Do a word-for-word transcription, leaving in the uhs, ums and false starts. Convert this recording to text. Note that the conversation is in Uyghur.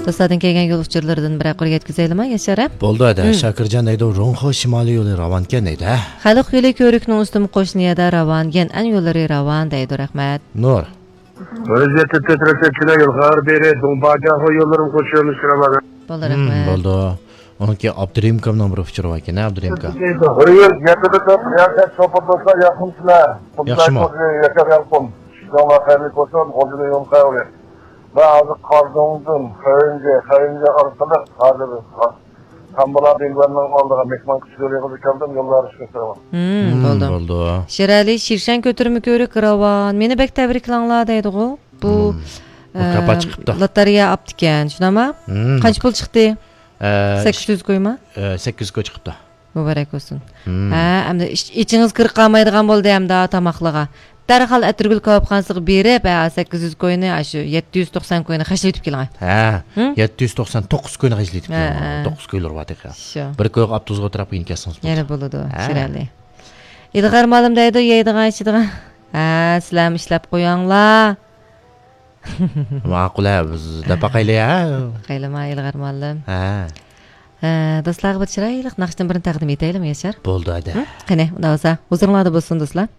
دوستلاردىن كەلگەن يول ئۇچۇرلىرىدىن بىرەر قۇر يەتكۈزەيلىما، ياشار ھە؟ بولدى، ھەدە. مم. شاكىرجان دەيدۇ، رۇڭخې شىمالىي يولى راۋانكەن دەيدۇ، ھە؟ خەلق يولى كۆۋرۈكنىڭ ئۈستىمۇ قوشنا يەردە راۋان، يەنئەن يوللىرى راۋان دەيدۇ، رەھمەت. نۇر. ۋەزىيەتتە تىترەتكىلەر يول خەۋەر بېرى، دۇڭباجاخو يوللىرىمۇ قوشۇلۇش راۋان. بولدى، مم، رەھمەت. بولدى. ئۇنىڭكى ئابدۇرېھىم ئاكامنىڭ بىر ئۇچۇرى باركەن، ھە، ئابدۇرېھىم ئاكا؟ بىر يۈز يەتتە تۆت، ياخشى، شوپۇر دوستلار، ياخشىمۇسىلەر؟ ياخشىمۇ؟ ياشار يالقۇن. ئىشىڭلار خەيرلىك بولسۇن، غۇلجىنىڭ يولى خەۋەر. مەن ھازىر قارادۆڭدىن خەيرىنجە، خەيرىنجە ئارقىلىق ھازىر تامبۇلا بىلبەننىڭ ئالدىغا مېھمان كۈتۈش يولىغا كەلدىم، يوللار ئىشقا ساغلام. مم، مم، بولدى. بولدى. شىرئەلى، شىرشەن كۆتۈرمە كۆۋرۈك راۋان. مېنى بەك تەبرىكلەڭلار دەيدىغۇ. بۇ، مم. مۇكاپات ئە، چىقىپتۇ. لاتارىيە ئاپتىكەن، شۇنداقما؟ مم. قانچە پۇل چىقتى؟ ئە، سەككىز يۈز كويما؟ ئە، سەككىز يۈز كوي چىقىپتۇ. مۇبارەك بولسۇن. مم. ھە، ئەمدى ئىچ-، ئىچىڭىز كىرىپ قالمايدىغان بولدى ئەمدى تاماقلىغا. دەرھال ئەتىرگۈل كاۋاپخانىسىغا بېرىپ، ھە، سەككىز يۈز كوينى، ئاشۇ يەتتە يۈز توقسان كوينى خەجلىۋېتىپ كېلىڭ. ھە، ھە؟ يەتتە يۈز توقسان توققۇز كوينى خەجلىۋېتىپ ھە، كېلىڭ. ھە. توققۇز كويلىرى بار تېخى. شۇ. بىر كويغا ئاپتوبۇسقا ئولتۇرۇپ كېلىپ كەلسىڭىز بولىدۇ. يەنە بولىدۇ، ھە. شىرئەلى. ئىلغار مالىم دەيدۇ، يەيدىغان، ئىچىدىغان. ھە، سىلەرمۇ ئىشلەپ قويۇڭلار. ماقۇل، ھە، بىز دەپ باقايلى، ھە. باقايلىما، ئىلغار مالىم. ھە. ھە، دوستلارغا بىر چىرايلىق ناخشىدىن بىرنى تەقدىم ئېتەيلىمۇ، ياشار؟ بولدى، ھەدە. ھە؟ قېنى، ئۇنداق بولسا، ھۇزۇرۇڭلاردا بولسۇن، دوستلار.